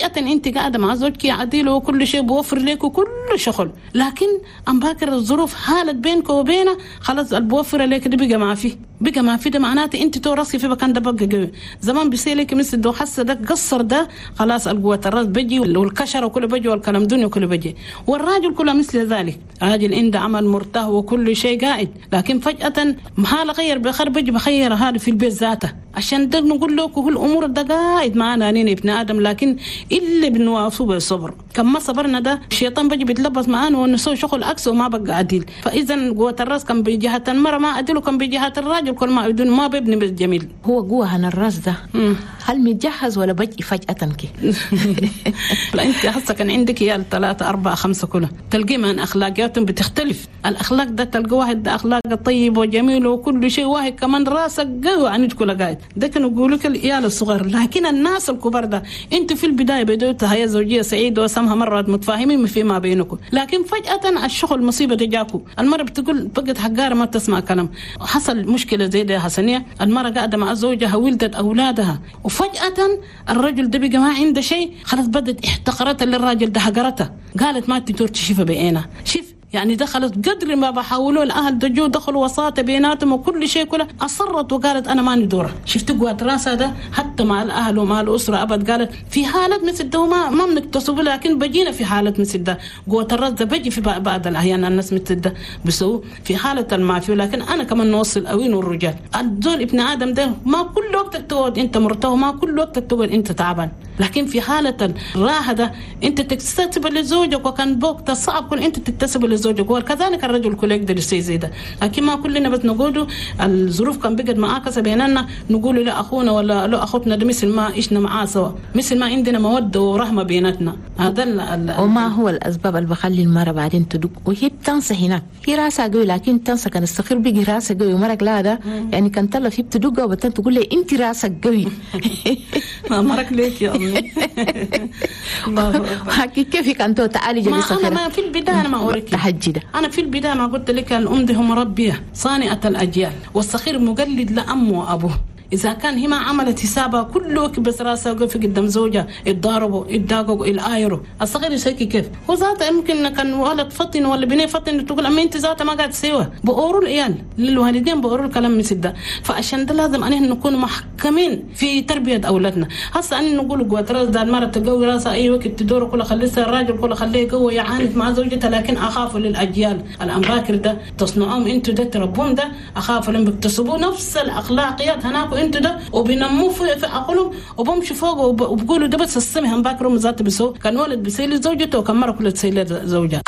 انت قاعدة مع زوجك عديل وكل شيء بوفر لك وكل شغل، لكن ام باكر الظروف حالت بينك وبينه خلاص البوفر لك ده بقى ما فيه، بقى ما فيه. ده معناته انت تو راسي في مكان ده بقى قوي. زمان بيسيلك مثل ده حاسه ده قصر ده خلاص القوة الراس بيجي والكشره وكله بيجي والكلام دنيا كله بيجي. والراجل كله مثل ذلك، راجل عنده عمل مرتاح وكل شيء قاعد، لكن فجأة محال غير بخير بيجي بخير هذا في البيت ذاته. عشان ده نقول له كل الامور ده قاعد معانا نين ابن ادم، لكن اللي بنوافه بالصبر. كم ما صبرنا ده الشيطان بيجي بيتلبس معانا ونسوي شغل عكس وما بقى عديل. فاذا قوة الراس كان بجهة المرأة ما عدل، وكان بجهة الراجل كل ما بدون ما بيبني بالجميل. هو قوة هنا الراس ده هل متجهز ولا بجي فجأة كي؟ لا انت هسه كان عندك عيال 3 4 5 كلها تلقي من اخلاقياتهم بتختلف. الاخلاق ده تلقى واحد ده اخلاقه طيب وجميل وكل شيء، واحد كمان راسك قوي عنك كل قاعد. ده كانوا يقولوا لك العيال الصغار، لكن الناس الكبار ده انتوا في البداية بدأتوا حياة زوجيه سعيدة وسمها مرات متفاهمين فيما بينكم، لكن فجاة الشغل مصيبة تجاكم. المرة بتقول بقت حقارة ما بتسمع كلام. حصل مشكلة زي ده حسنيه، المرة قاعدة مع زوجها ولدت اولادها، وفجاة الرجل ده بقى ما عنده شيء، خلاص بدت احتقرتها للراجل ده، حقرتها، قالت ما تدور تشوفها بعينها. شوف يعني دخلت قدر ما بحاولوا الاهل دجوا دخلوا وساطة بيناتهم وكل شيء كله، اصرت وقالت انا ماني دوره. شفت قوة راسها ده حتى مع الاهل ومع الاسرة ابد. قالت في حالات مثل ده ما بنكتسبه، لكن بجينا في حالات مثل ده قوة الراس ده بجي في بعض الاحيان الناس مثل ده بسووا في حاله المافيا. لكن انا كمان نوصل اوين والرجال الزول ابن ادم ده ما كل وقت تقعد انت مرتاح، ما كل وقت تقعد انت تعبان، لكن في حاله الراحة ده انت تكتسب لزوجك، وكان بوقت صعب كل انت تكتسب لزوجك، وكذلك الرجل كله يقدر يسوي زي ده. لكن ما كلنا بس نقوله الظروف كان بقت معاكسة بيننا، نقول لاخونا ولا لاخوتنا ده مثل ما عشنا معاه سوا، مثل ما عندنا موده ورحمة بيناتنا. هذا وما هو الاسباب اللي بخلي المراة بعدين تدق وهي بتنسى هناك، هي راسها قوي لكن تنسى. كان الصغير بيجي راسه قوي ومرق لا ده يعني كان طلع فيه بتدقه وبتن تقول لي انت راسك قوي. ما مرق ليك يا امي. حكي كيف كان تعالي جلسه. انا ما في البداية انا ما اوريك تحجده. انا في البداية ما قلت لك الام دي مربيه صانعه الاجيال، والصغير مقلد لامه وابوه. إذا كان هي ما عملت حسابها كله بس راسها وقف قدام زوجها يتضاربوا يتداققوا يلايروا، الصغير يسكي كيف؟ هو ذاته يمكن كان ولد فطن ولا بنيه فطن تقول أما أنت ذاته ما قاعد تسويها. بقولوا العيال للوالدين بقولوا الكلام مثل ده. فعشان ده لازم أن نكون محكمين في تربية أولادنا. هسه أن نقول قوة راس ده المرة تقوي راسها أي وقت تدور كله خليها الراجل كله خليه قوي يعاند مع زوجته، لكن أخاف للأجيال الأمباكر ده تصنعوهم أنتوا ده تربوهم ده، أخاف لهم بيكتسبوا نفس الأخلاقيات هناك انتوا ده وبينموه في عقلهم وبمشوا فوق وبقولوا ده بس السمه هم باكروا ذات بسو كان ولد بيسيل زوجته وكان مرة كلها تسيل زوجها.